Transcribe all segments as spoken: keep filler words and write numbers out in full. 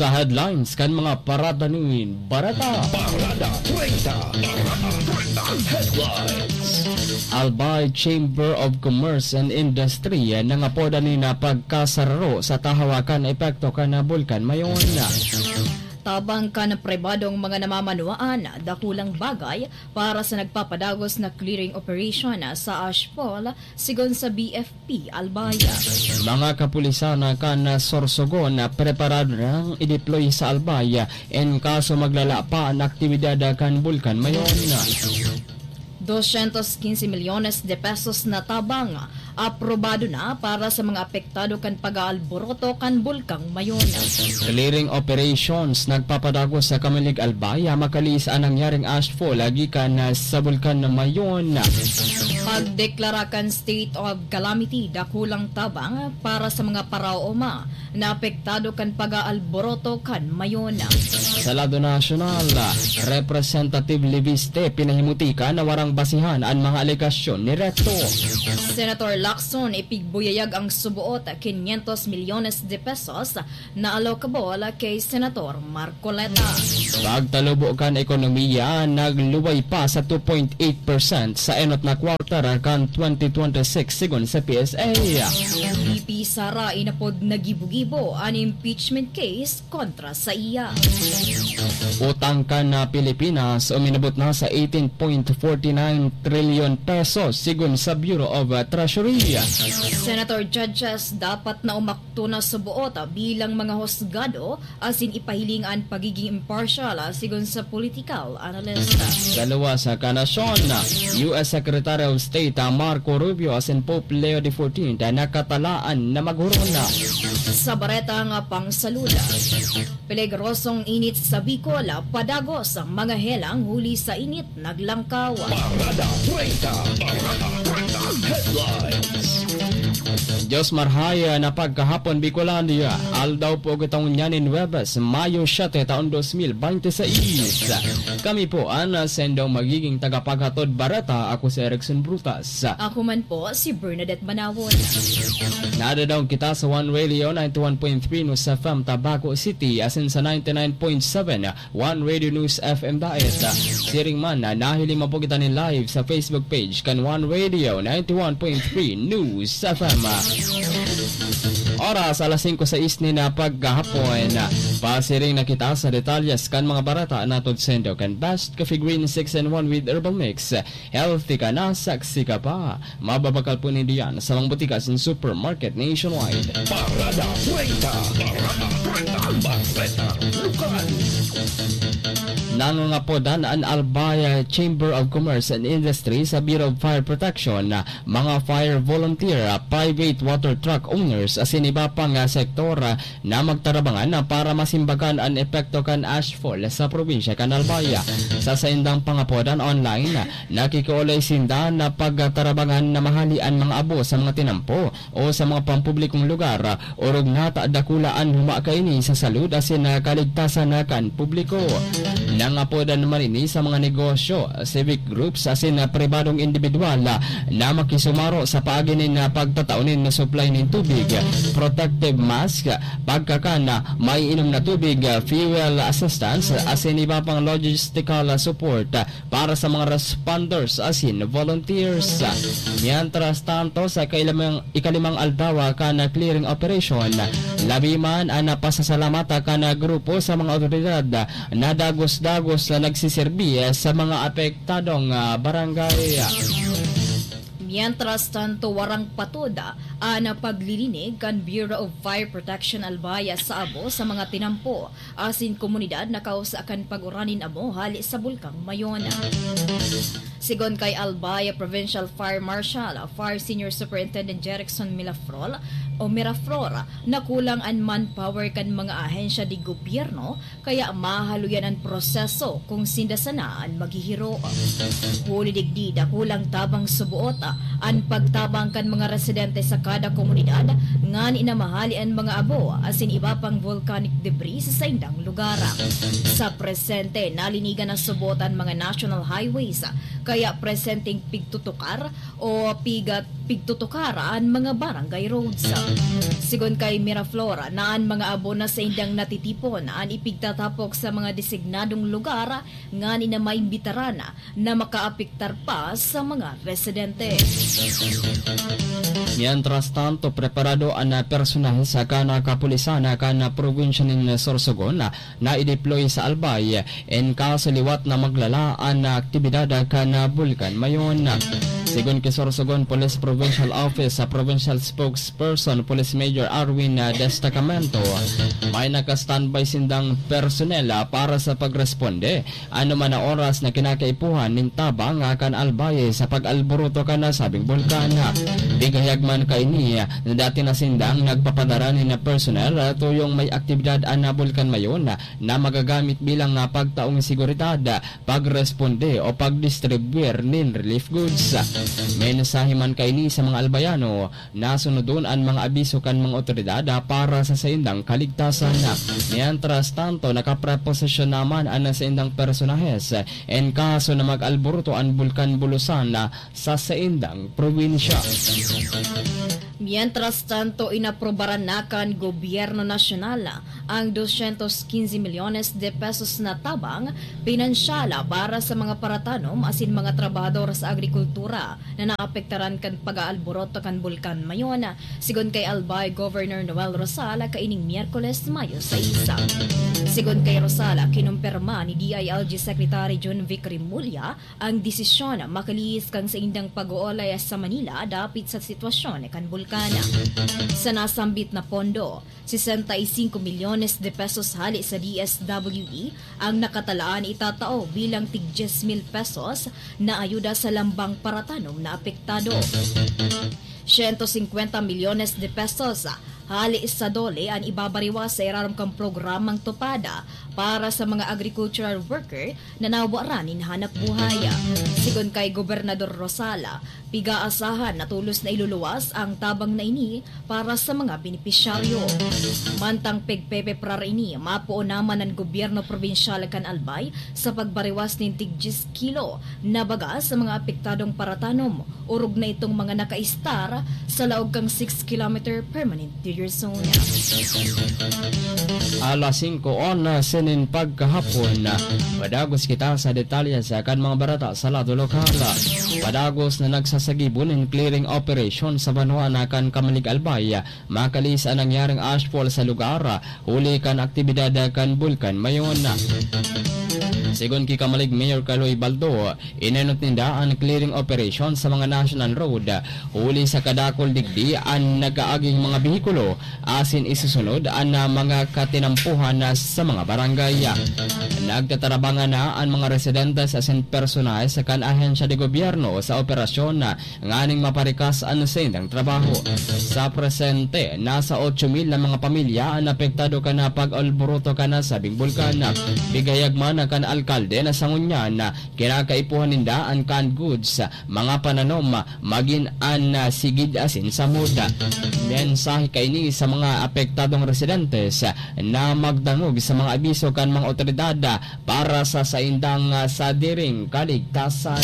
Sa headlines kan mga parada nin bareta. Parada treinta. Parada treinta headlines. Albay Chamber of Commerce and Industry nangapodan nin pagkasararo sa tahaw kan epekto kan Bulkan Mayon. Tabang kan pribadong mga namamanwaan, dakulang bagay para sa nagpapadagos na clearing operation sa Ashfall, sigon sa B F P Albay. Mga kapulisan kan Sorsogon preparado nang i-deploy sa Albay en kaso maglala pa an aktibidad kan Bulkan Mayon. Doscientos quince millones de pesos na tabang aprobado na para sa mga apektado kan pag-aalboroto kan Bulkang Mayon. Clearing operations nagpapadagos sa Camilig, Albay, makaliis an nangyaring ashfall gikan sa Bulkan Mayon. Pagdeklara kan state of calamity, dakulang tabang para sa mga paraoma na apektado kan pag-aalboroto kan Mayon. Sa lado nasyonal, Representative Leviste pinahimutika na warang basihan an mga alegasyon ni Recto. Senator Lacson ipigbuyayag ang suboot quinientos milyones de pesos na allocable kay Senator Marcoleta. Pagtalubo kan ekonomiya, nagluway pa sa two point eight percent sa enot na quarter kan twenty twenty-six, sigon sa P S A. V P Sara inapod na gibo-gibo an impeachment case kontra sa iya. Utang kan, ah, Pilipinas uminabot na sa eighteen point forty nine trillion pesos, sigon sa Bureau of, ah, Treasury. Senator judges dapat na umakto na suboot, ah, bilang mga husgado asin ipahiling an pagiging impartial, ah, sigon sa political analyst. Sa luwas kan nasyon, U S Secretary of State, ah, Marco Rubio asin Pope Leo the fourteenth, ah, nakatalaan na maghuron na. Sa baretang, ah, pangsalud, peligrosong init sa Bicol, ah, padagos ang mga helang huli sa init naglangkaw. Parada treinta, Parada treinta headlines. Diyos marhay na pagkahapon, Bicolandia. Aldaw po kita ngunyan nin Huwebes, Mayo siete, taon dos mil binte seis. Kami po an sendong magiging tagapaghatod bareta. Ako si Erickson Brutas. Ako man po, si Bernadette Manawon. Nadadaog kita sa One Radio ninety-one point three News F M Tabaco City, asin sa ninety-nine point seven One Radio News F M Daet. Siring man na nahiling man po kita nin live sa Facebook page kan One Radio ninety-one point three News F M. Oras, alas singko sais nin, ah, paghahapon. Pasiring na kita sa detalyes kan mga bareta na hatod saindo kan Best Coffee Green six in one with Herbal Mix. Healthy ka na, sexy ka pa. Mababakal po nindo yan sa mga botika asin supermarket nationwide. Parada treinta. Parada treinta. Bareta Lokal. Nangangapodan an Albay Chamber of Commerce and Industry sa Bureau of Fire Protection, mga fire volunteer, private water truck owners, asin iba pang, ah, sektor, ah, na magtarabangan na para masimbagan an epekto kan ashfall sa probinsya kan Albay. Sa saindang pangapodan online, nakikiolay sinda na pagtarabangan na mahali an mga abo sa mga tinampo o sa mga pampublikong lugar, orog na ta dakula an huma kaini sa salud asin kaligtasan kan publiko. Nangapodan man ini sa mga negosyo, civic groups asin pribadong indibidwal na makisumaro sa paagi nin pagtatao nin supply nin tubig, protective mask, pagkakan, maiinom na tubig, fuel assistance, asin iba pang logistical support para sa mga responders asin volunteers. Mientras tanto, sa kailamang, ikalimang aldaw kan clearing operation, labi man an pasasalamat kan grupo sa mga awtoridad na dagos-dagos na nagsiserbi sa mga apektadong, ah, barangay. Mientras tanto, warang patod an paglilinig kan Bureau of Fire Protection Albay sa abo sa mga tinampo asin komunidad na kausa kan pag-uran nin abo hali sa Bulkang Mayon. Sigon kay Albay Provincial Fire Marshal, Fire Senior Superintendent Jerickson Milafrol o Miraflor, nakulang an manpower kan mga ahensya de gobyerno kaya mahaluyan an proseso kung sinda sana an maghihiro. Huli digdi, dakulang tabang suboot an pagtabang kan mga residente sa kada komunidad ngani na mahali an mga abo asin iba pang volcanic debris sa saindang lugar. Sa presente, nalinigan na suboot an mga national highways, kaya presenteng pigtutukar o pigat pigtutukar an mga barangay roads. Sigon kay Miraflor, na an mga abo na saindang natitipon an ipigtatapok sa mga designadong lugar ngani na maimbitaran na makaapektar pa sa mga residente. Mientras tanto, preparado an personahe sa kan kapulisan kan probinsya nin Sorsogon na i-deploy sa Albay en kaso liwat na maglala an aktibidad kan bulkan Mayon. Sigon ki Sorsogon Police Provincial Office sa Provincial Spokesperson Police Major Arwin Destacamento, may naka-standby sindang personnel para sa pagresponde anoman na oras na kinakaipuhan nin tabang kan Albay sa pag-alboroto kan nasabing bulkan. Bigayag man kaini na dati na sindang nagpapadara nin personnel tuyong may aktibidad an bulkan Mayon na magagamit bilang pagtaong seguridad, pagresponde o pagdistribuir nin relief goods. Mensahe man kaini sa mga Albayano, nasunodon an mga abiso kan mga otoridad para sa saindang kaligtasan. Mientras tanto, nakapreposisyon naman an saindang personahes en kaso na mag-alboroto an Bulkan Bulusan sa saindang probinsya. Mientras tanto, inaprobaran na kan Gobyerno Nasyonal ang doscientos quince milyones de pesos na tabang pinansyal para sa mga paratanom asin mga trabahador sa agrikultura na naapektaran kan pag-aalborot kan Bulkan Mayon, sigon kay Albay Governor Noel Rosal kaining Miyerkules, Mayo sais. Sigon kay Rosal, kinumpirma ni D I L G Secretary John Vic Remulla ang desisyon makalihis kan saindang pag-oolay sa Manila dapit sa sitwasyon kan bulkan. Sa nasambit na pondo, sesenta y cinco milyones de pesos hale sa D S W D ang nakatalaan itatao bilang tig dyes mil pesos na ayuda sa lambang paratanom na apektado. Siyento singkwenta milyones de pesos hale sa DOLE an ibabariwas sa irarom kan programang TUPAD para sa mga agricultural worker na nawaran nin hanap buhay. Sigon kay Gobernador Rosal, pig-aasahan na tolos na iluluwas ang tabang na ini para sa mga benepisyaryo. Mantang pigpepeprar ini, mapoon naman an gobyerno probinsyal kan Albay sa pagbariwas nin tig dyes kilo na baga sa mga apektadong paratanom, orog na itong mga nakaistar sa laog kan six kilometer permanent danger zone. Alas singko onse nin pagkahapon, padagos kita sa detalye sa kan mga barata sa lado lokal. Padagos na nagsasagibo nin clearing operation sa banwaan kan Camalig, Albay, makalihis an nangyaring ashfall sa lugar, huli kan aktibidad kan Bulkan Mayon. Sigon ki Camalig Mayor Kaloy Baldo, inenot ninda an clearing operation sa mga national road, huli sa kadakul digdi an nag-aaging mga behikulo, asin isusunod an, ah, mga katinampuhan na sa mga barangay. Nagtatarabangan na an mga residentes asin personahe sa kan ahensya de gobyerno sa operasyon na nganing maparikas an saindang trabaho. Sa presente, nasa otso mil na mga pamilya an apektado kan pag-alboroto kan nasabing bulkan. Bigayag man kan alkalde na sa ngunyan, kinakaipuhan ninda an canned goods, mga pananom, magin an, ah, sigid asin samod. Mensahe kaini sa mga apektadong residentes na magdangog sa mga abiso kan mga otoridad para sa saindang, ah, sadiring kaligtasan.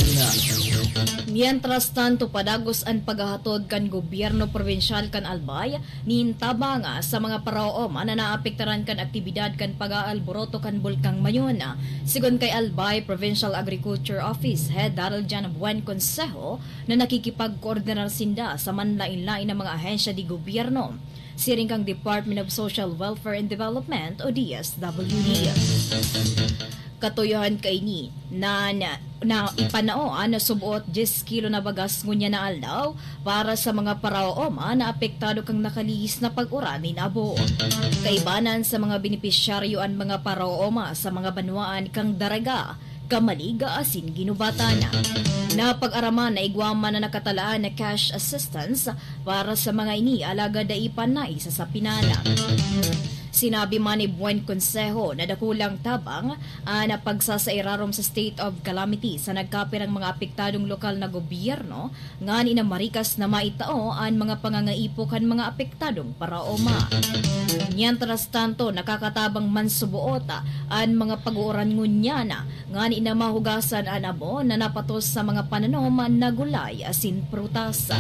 Mientras tanto, padagos an paghahatod kan gobyerno probinsyal kan Albay nin tabang sa mga paraoman na naapektaran kan aktibidad kan pag-aalboroto kan Bulkang Mayon. Sigon kay Albay Provincial Agriculture Office Head Daryl John Buen Consejo, na nakikipagkoordinar sinda sa manlain-lain na mga ahensya di gobyerno, siring kang Department of Social Welfare and Development o D S W D. Katuyohan kaini na, na, na ipanao an subot dyes kilo na bagas ngunyan na aldaw para sa mga paraoma na apektado kan nakalihis na pag-uran nin abo. Kaibanan sa mga benepisyaryo an mga paraoma sa mga banwaan kan Daraga, Camalig asin Guinobatan. Napag-araman na igwa man na nakatalaan na cash assistance para sa mga ini, alagad dai pa naisasapinan. Sinabi man ni Buen Consejo na dakulang tabang an pagsasairarom sa state of calamity sa nagkapirang mga apektadong lokal na gobyerno, ngani na marikas na maitao an mga pangangaipo kan mga apektadong paraoma. Mientras tanto, nakakatabang man suboot an mga pag-uuran ngunyan ngani na mahugasan an abo na napatos sa mga pananom na gulay asin prutas.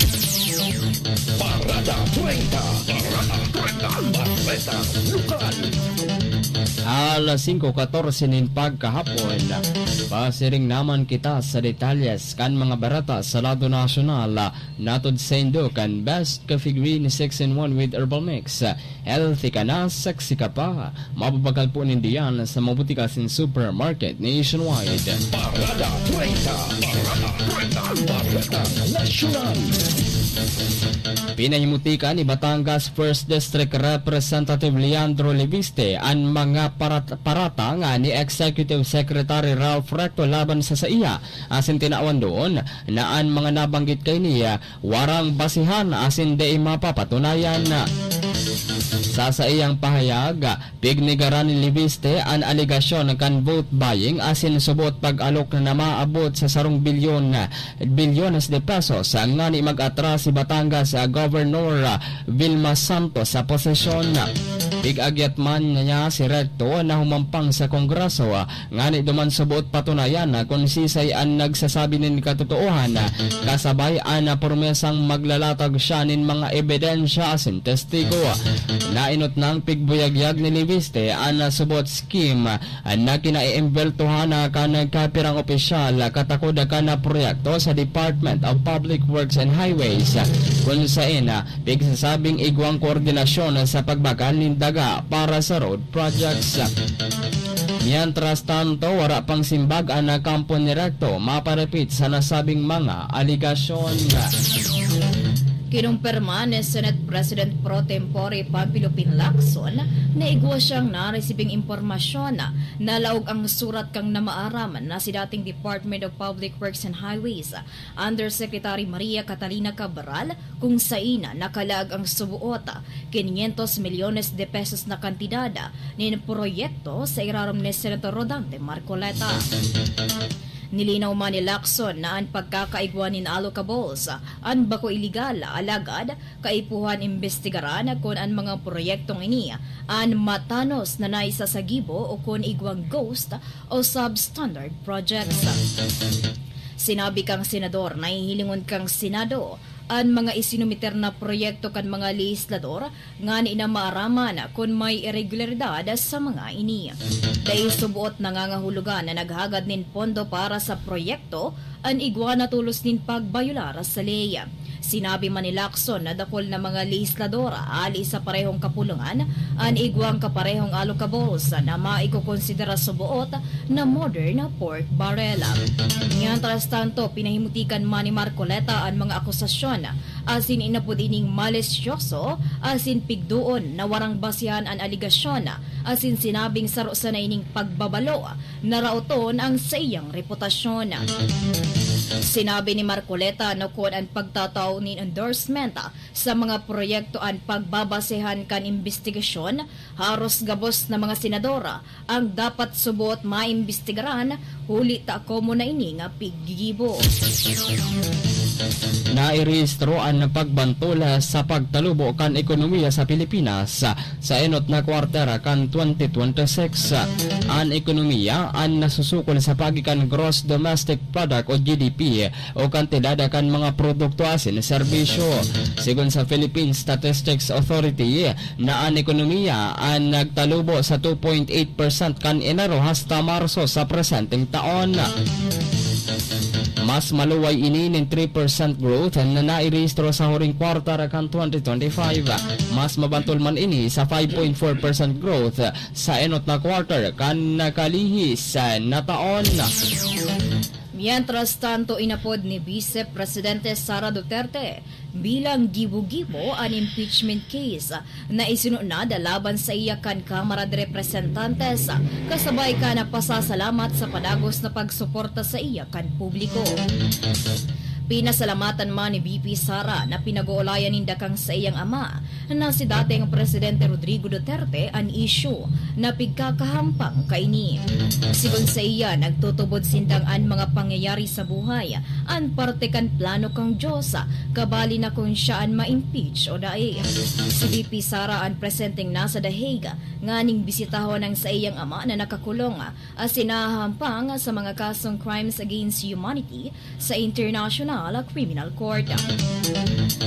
Parada treinta. Parada treinta. Bareta Lokal. Alas singko katorse nin pagkahapon. Pasiring naman kita sa detalyes kan mga bareta sa lado nasyonal. Natod saindo kan Best Coffee Green six in one with Herbal Mix. Healthy ka na, sexy ka pa. Mababakal po nindo yan sa mga butika asin supermarket nationwide. Parada treinta. Parada treinta. Bareta Nasyonal. Pinahimutika ni Batangas First District Representative Leandro Leviste an mga parat-, paratang ni Executive Secretary Ralph Recto laban sa saiya, asin tinawan doon na an mga nabanggit kaini warang basihan asin dai mapapatunayan. Sa saiyang pahayag, pignigaran ni Leviste an alegasyon kan vote buying asin suboot pag-alok na maabot sa sarong bilyon, bilyones de pesos ngani mag-atras si Batangas Governor Vilma Santos sa posisyon. Pig-agyat man niya si Recto na humampang sa Kongreso ngani duman suboot patunayan na kun sisay an nagsasabi nin katotoohan, kasabay an promesang maglalatag siya nin mga ebidensya asin testigo. Nainot nang pigbuyagyag ni Leviste an subot scheme na kinaiimbeltohan kan kapirang opisyal katakod kan proyekto sa Department of Public Works and Highways, kun saen pigsasabing igwang koordinasyon sa pagbakal nin daga para sa road projects. Mientras tanto, wara pang simbag an kampo ni Recto maparapit sa nasabing mga alegasyon. Kinumpirma ni Senate President Pro Tempore Panfilo Lacson na igwa siyang naresibing impormasyon na laog ang surat kan namaaram na si dating Department of Public Works and Highways Undersecretary Maria Catalina Cabral, kung saen nakalaag ang suboot quinientos milyones de pesos na kantidad nin proyekto sa irarom ni Senator Rodante Marcoleta. Nilinaw man ni Lacson na an pagkakaigwa nin allocables an bako ilegal, alagad kaipuhan imbestigaran kun an mga proyektong ini an matanos na naisasagibo o kun igwang ghost o substandard projects. Sinabi kan senador na hihilingon kan Senado an mga isinumiter na proyekto kan mga lehislador ngani na maaraman kun may iregularidad sa mga ini. Dai suboot nangangahulugan na naghagad nin pondo para sa proyekto an igwa na tolos nin pagbayolar sa ley. Sinabi man ni Lacson na dakul na mga lehislador hali sa parehong kapulungan an igwang kaparehong allocables na maikokonsidera suboot na modern pork barrel. Mientras tanto, pinahimutikan man ni Marcoleta an mga akusasyon asin inapod ining malisyoso asin pigdoon na warang basehan an alegasyon asin sinabing saro sana ining pagbabalo na raoton ang saiyang reputasyon. Sinabi ni Marcoleta na kun an pagtatao nin endorsement sa mga proyekto an pagbabasehan kan imbestigasyon, haros gabos na mga senador ang dapat subot maimbestigaran, huli ta komo na ini nga piggigibo. Nairehistro an pagbantol sa pagtalubo kan ekonomiya sa Pilipinas sa enot na kwarter kan twenty twenty-six. An ekonomiya an nasusukol sa paagi kan Gross Domestic Product o G D P o kantidad kan mga produkto asin serbisyo. Sigon sa Philippine Statistics Authority, na an ekonomiya an nagtalubo sa two point eight percent kan Enero hasta Marso sa presenteng taon. Mas maluway ini nin three percent growth na nairehistro sa huring kwartar kan twenty twenty-five. Mas mabantol man ini sa five point four percent growth sa enot na kwartar kan nakalihis na taon. Mientras tanto, inapod ni Vice Presidente Sara Duterte bilang gibo-gibo an impeachment case na isinunod laban saiya kan Kamara de Representantes, kasabay kan pasasalamat sa padagos na pagsuporta saiya kan publiko. Pinasalamatan man ni V P Sara na pinag-oolayan ninda kan saiyang ama na si dating Presidente Rodrigo Duterte an isyu na pigkakahampang kaini. Sigon saiya, nagtutubod sindang an mga pangyayari sa buhay an parte kan plano kan Dios, kabali na kun siya an ma-impeach o dai. Si V P Sara an presenteng nasa The Hague nganing bisitahon ang saiyang ama na nakakulong asin nahahampang sa mga kasong crimes against humanity sa International Criminal Court.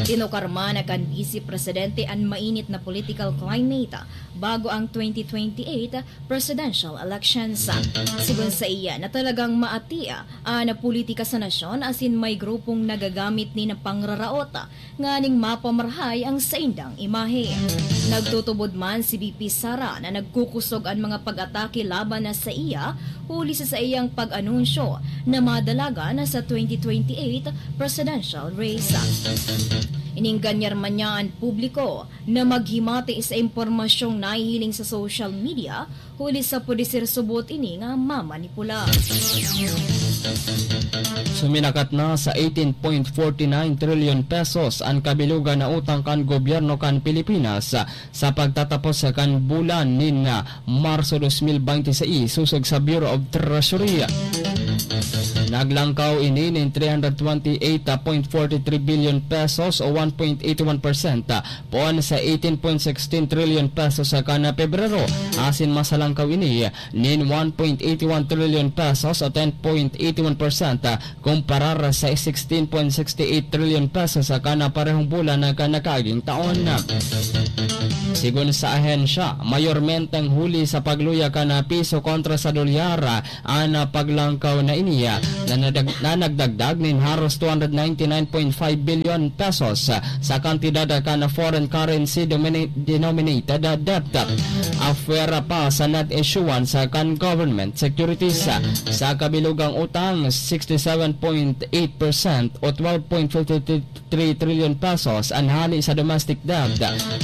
Tinukar man kan Vice Presidente an mainit na political climate bago ang twenty twenty-eight presidential elections. Sigon saiya na talagang maati an politika sa nasyon asin may grupong nagagamit nin pangraraot nganing mapamarahay ang saindang imahe. Nagtutubod man si V P Sara na nagkukusog an mga pag-atake laban na saiya huli sa saiyang pag-anunsyo na madalagan sa twenty twenty-eight presidential race. Inengganyar man niya an publiko na maghimati sa impormasyong nahihiling sa social media, huli sa pwede ser subot ini nga mamanipula. Suminakat na sa eighteen point forty nine trillion pesos an kabilugan na utang kan gobyerno kan Pilipinas sa pagtatapos kan bulan nin Marso dos mil bente seis, sosog sa Bureau of Treasury. Naglangkaw ini nin three hundred twenty-eight point forty-three billion pesos o one point eighty-one percent poon sa eighteen point sixteen trillion pesos sa kan Pebrero, asin masalangkaw ini nin one point eighty-one trillion pesos o ten point eighty-one percent, kumparar sa sixteen point sixty-eight trillion pesos sa kan parehong bulan na kan nakaaging taon. Sigon sa ahensya, mayormenteng huli sa pagluya kan piso kontra sa dolyar, an paglangkaw na ini na nadag-, na nagdagdag nin haros two hundred ninety-nine point five billion pesos sa kantidad kan foreign currency domina-, denominated debt, apwera pa sa net issuance kan government securities. Sa kabilugang utang, sixty-seven point eight percent o twelve point fifty-three trillion pesos an hali sa domestic debt,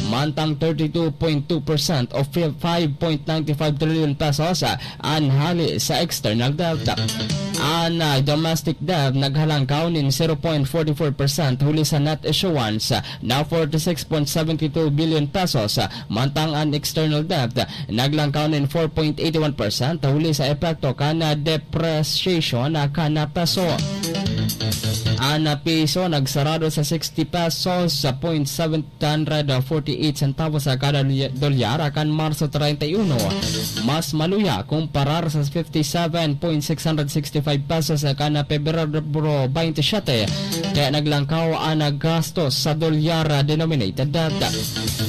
mantang thirty-two point two percent o five point nine five trillion pesos an hali sa external debt. An, ah, domestic debt naghalangkaw nin zero point forty-four percent huli sa net issuance na forty-six point seventy-two billion pesos, mantang an external debt naglangkaw nin four point eighty-one percent huli sa epekto kan depreciation kan peso. An piso nagsarado sa sixty pesos sa point seven hundred forty-eight centavos sa kada li-, dolyar kan Marso treinta y uno, mas maluya kumparar sa fifty-seven point six hundred sixty-five pesos sa kan Pebrero twenty-seven, kaya naglangkaw an gastos sa dolyar denominated debt.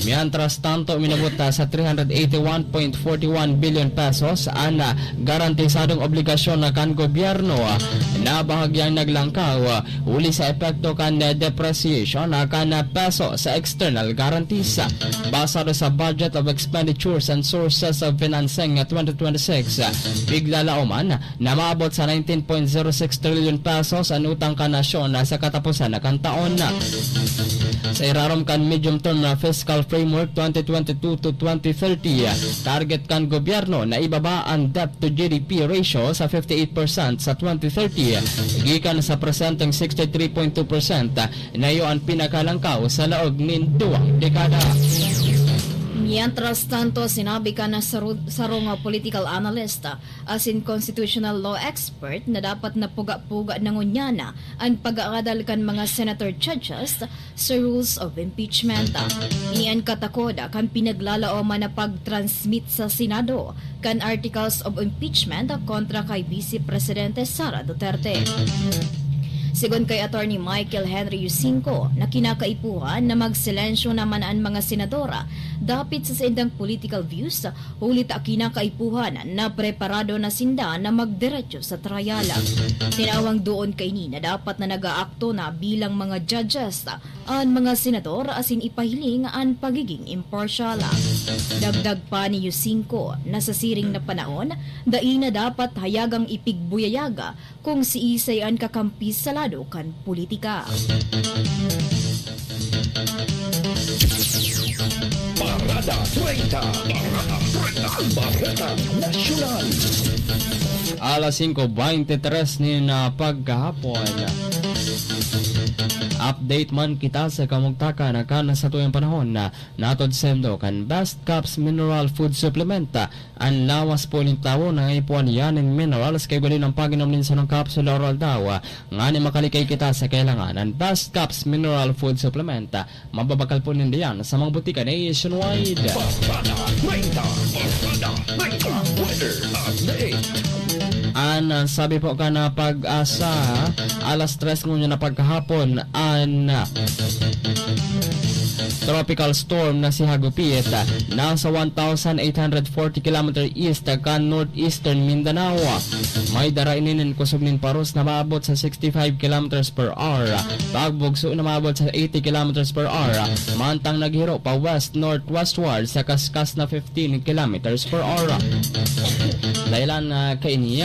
Mientras tanto, minabot sa three hundred eighty-one point forty-one billion pesos an garantisadong obligasyon kan gobyerno na bahagyang naglangkaw huli sa epekto kan depreciation kan peso sa external guarantees. Basado sa Budget of Expenditures and Sources of Financing twenty twenty-six, piglalaoman na maabot sa nineteen point zero six trillion pesos an utang kan nasyon sa kataposan kan taon. Sa irarom kan Medium Term Fiscal Framework twenty twenty-two to twenty thirty, target kan gobyerno na ibaba an debt to G D P ratio sa fifty-eight percent sa twenty thirty, gikan sa presenteng sixty-three point two percent, na iyo an pinakalangkaw sa laog nin duwang dekada. Mientras tanto, sinabi kan saru-, sarong political analyst asin constitutional law expert na dapat na puga-puga na ngunyan an pag-aadal kan mga senator judges sa rules of impeachment. Ini an katakod kan pinaglalaoman na pag-transmit sa Senado kan articles of impeachment kontra kay Vice Presidente Sara Duterte. Sigon kay Attorney Michael Henry Yusinco, na kinakaipuhan na magsilensyo naman an mga senador dapit sa saindang political views, huli ta kinakaipuhan na preparado na sinda na magdiretso sa trial. Tinawang doon kaini na dapat na nag-aakto na bilang mga judges an mga senador asin ipahiling an pagiging impartial. Dagdag pa ni Yusinco na sa siring na panahon, dai na dapat hayagang ipigbuyayag kung siisay an kakampi sa lado kan politika. Parada treinta, Parada treinta, Parada Nasyonal. Alas singko beintitres nin, ah, pagkahapon. Update man kita sa kamugtakan kan satuyang panahon na natod sendo kan Best Caps Mineral Food Supplement. An lawas po nin tawo nangaipuhan iyan nin minerals kay gali ng pag-inom nin sarong kapsula or aldaw. Ngani makalikay kita sa kailangan, an Best Caps Mineral Food Supplement, mababakal po ninda yan sa mga butika nationwide. Barkada treinta, Barkada treinta, weather update. An, ah, sabi po kan, ah, PAGASA, alas tres ngunyan na pagkahapon, an, ah, tropical storm na si Hagupit, ah, nasa one thousand eight hundred forty kilometer east kan northeastern Mindanao. May dara ini nin kusog nin paros na maabot sa sixty-five kilometers per hour, pagbugso na maabot sa eighty kilometers per hour, mantang naghiro pa west-northwest sa kaskas na fifteen kilometers per hour. Dahilan, ah, kaini,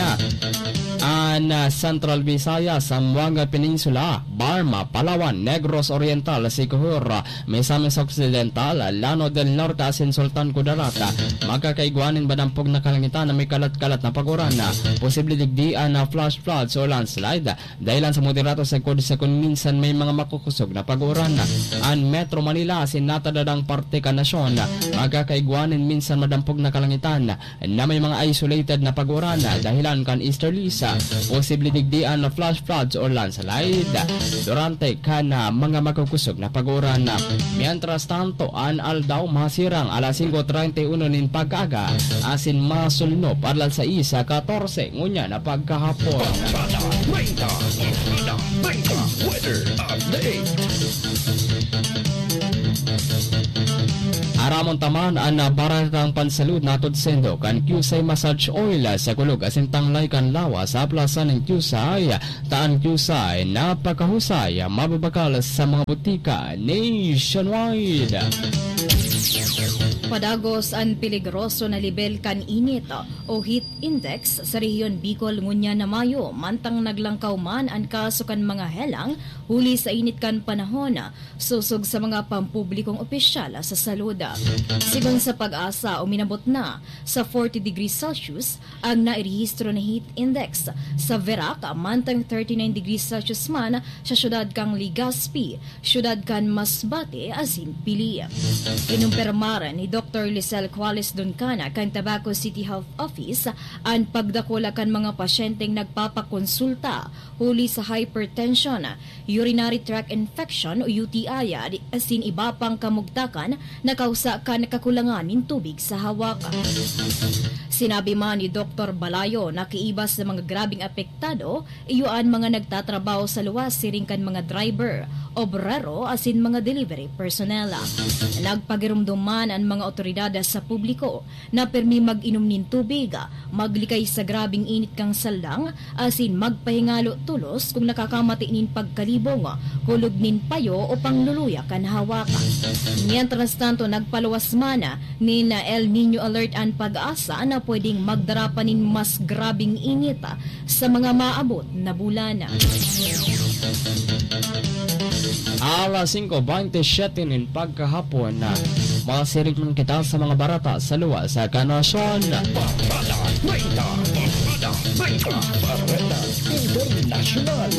an, ah, Central Visayas, Zamboanga Peninsula, Barma, Palawan, Negros Oriental, Siquijor, Misamis Occidental, Lanao del Norte asin Sultan Kudarat, magkakaigwa nin madampog na kalangitan na may kalat-kalat na pag-uran. Posible digdi an flash floods o landslide, dahilan sa moderado sagkod sa kun minsan may mga makukusog na pag-uran. An Metro Manila asin natadadang parte kan nasyon, magkakaigwa nin minsan madampog na kalangitan na may mga isolated na pag-uran dahilan kan easterlies. Posible digdi an flash floods o landslide durante kan, ah, mga makukusog na pag-uran. Mientras tanto, an aldaw masirang alas singko treinta y uno nin pagkaaga asin masulnop alas sais katorse ngunyan na pagkahapon. Barkada treinta, Barkada treinta, weather update. Aramon ta man an baratang pansalud natod sendo kan Qusay Massage Oil sa kulog asin tanglay kan lawas sa plaza nin Qusay, ta an Qusay napakahusay, mababakal sa mga butika nationwide. Padagos an peligroso na lebel kan init o heat index sa rehiyon Bicol ngunyan na Mayo, mantang naglangkaw man an kaso kan mga helang huli sa init kan panahon, sosog sa mga pampublikong opisyal sa salud. Sigon sa PAGASA, uminabot na sa forty degrees Celsius ang nairehistro na heat index sa Virac, mantang thirty-nine degrees Celsius man sa siyudad kan Legazpi, siyudad kan Masbate asin Pili. Kinumpirmar ni Doktor Lisel Cuales Duncana kan Tabaco City Health Office an pagdakula kan mga pasyenteng nagpapakonsulta huli sa hypertension, urinary tract infection o U T I, asin iba pang kamugtakan na kausa kan kakulangan nin tubig sa hawak. Sinabi man ni Doktor Balayo na kiiba sa mga grabeng apektado, iyo an mga nagtatrabaho sa luwas siring kan mga driver, obrero asin mga delivery personnel. Nagpagiromdom man an mga otoridad sa publiko na pirmi mag-inom nin tubig, maglikay sa grabeng init kan saldang, asin magpahingalo tolos kun nakakamati nin pagkalibong, kulog nin payo o pangluluya kan hawak. Mientras tanto, nagpaluwas man nin El Niño alert an PAGASA na pwedeng magdara pa nin mas grabeng init sa mga maabot na bulan. Alas singko bente siyete nin pagkahapon, masiring man kita sa mga barata sa luwas kan nasyon. Barkada treinta, Barkada treinta, Barkada Internasyonal.